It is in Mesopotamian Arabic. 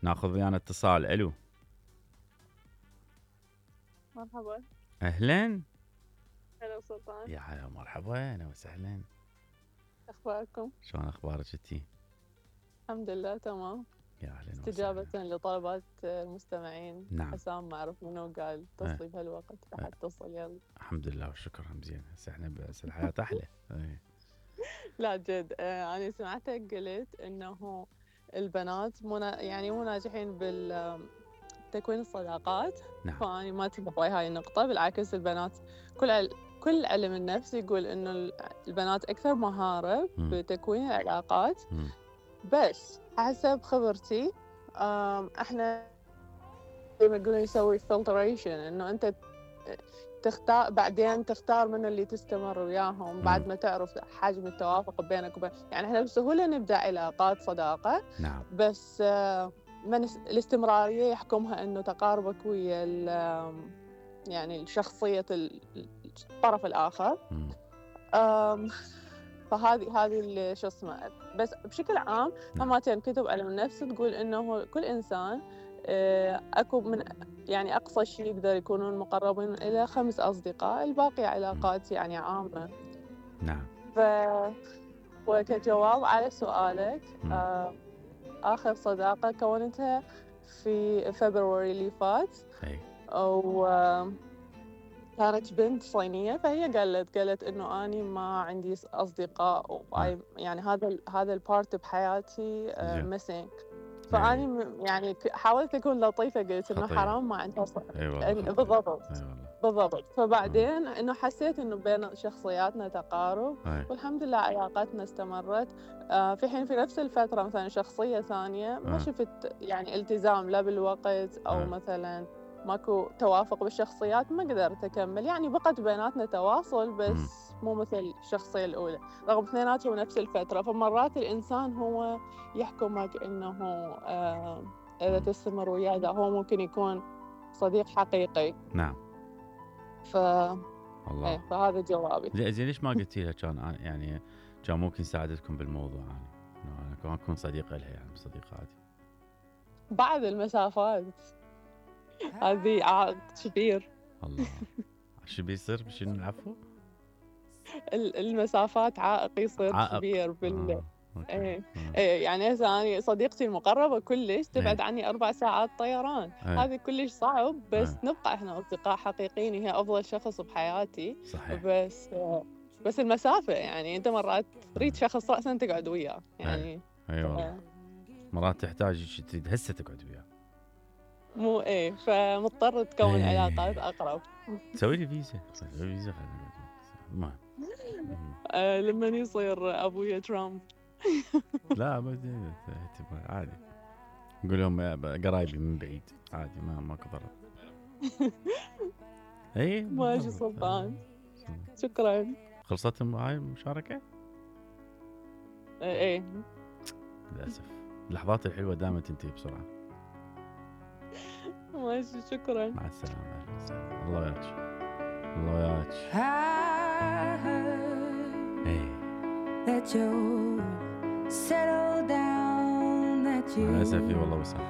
ناخذ ويانا اتصال. الو مرحبا. اهلا. هلا سلطان. يا هلا مرحبا، اهلا وسهلا. اخباركم؟ شلون اخبارك انتي؟ الحمد لله تمام. يا اهلا استجابة وسهلا. لطلبات المستمعين. نعم. حسام ما اعرف منو قال اتصلي بهالوقت راح اتصل يلا. الحمد لله والشكر. هم زين. هسه احنا بس الحياة احلى. لا جد انا سمعتك قلت انه البنات مو ناجحين بالتكوين الصداقات. نعم. فاني ما اتفق ويا هاي النقطة، بالعكس البنات كل علم النفس يقول انه البنات اكثر مهارة بتكوين العلاقات. بس حسب خبرتي احنا يقولون يسوي فلتريشن، انه انت تختار بعدين تختار من اللي تستمر وياهم بعد ما تعرف حجم التوافق بينك وبين، يعني احنا بسهولة نبدأ علاقات صداقة. نعم. بس من الاستمرارية يحكمها انه تقاربك ويا يعني شخصية الطرف الآخر. فهذه اللي شو اسمه. بس بشكل عام هماتين كتب علم النفس تقول انه كل انسان اكو من يعني اقصى شيء يقدر يكونون مقربين الى 5 اصدقاء، الباقي علاقات يعني عامة. نعم. وكجواب على سؤالك اخر صداقة كونتها في فبراير اللي فات. كانت بنت صينية، فهي قالت إنه أنا ما عندي أصدقاء يعني هذا البارت بحياتي ميسينج. فأني يعني حاولت أكون لطيفة، قلت إنه حرام ما عندها بالضبط. فبعدين إنه حسيت إنه بين شخصياتنا تقارب والحمد لله علاقاتنا استمرت. في حين في نفس الفترة مثلا شخصية ثانية ما شفت يعني التزام لا بالوقت أو مثلا ماكو توافق بالشخصيات، ما قدرت أكمل. يعني بقت بيناتنا تواصل بس مو مثل الشخصية الأولى رغم اثنيناتهم نفس الفترة. فمرات الإنسان هو يحكمك إنه إذا تستمر وياه هو ممكن يكون صديق حقيقي. نعم. الله. فهذا جوابي. زين ليش ما قلتي لها كان ممكن ساعدتكم بالموضوع؟ أنا كمان أكون صديقة لها يعني صديقاتي. بعد المسافات هذه عائق كبير. الله. شو بيصير بشنو العفو؟ المسافات عائق يصير كبير يعني هسه أنا صديقتي المقربة كلش تبعد عني 4 ساعات طيران. هذه كلش صعب بس نبقى احنا أصدقاء حقيقيين. هي أفضل شخص بحياتي. صحيح. بس المسافة يعني أنت مرات تريد شخص رأسا تقعد وياه يعني. والله. مرات تحتاج تريد هسه تقعد وياه. مو فمضطر تكون علاقات أقرب. تسوي لي فيزا. ما لما يصير أبويا ترامب. لا عادي، نقول لهم قرايبي من بعيد عادي، ماكو ضرر. ماشي سلطان. شكرا. خلصت هاي المشاركة؟ للأسف اللحظات الحلوة دائما تنتهي بسرعة. ماشي شكرا. مع السلامة. الله وياك. الله وياك. that you settle down that you. أنا آسف والله وسام.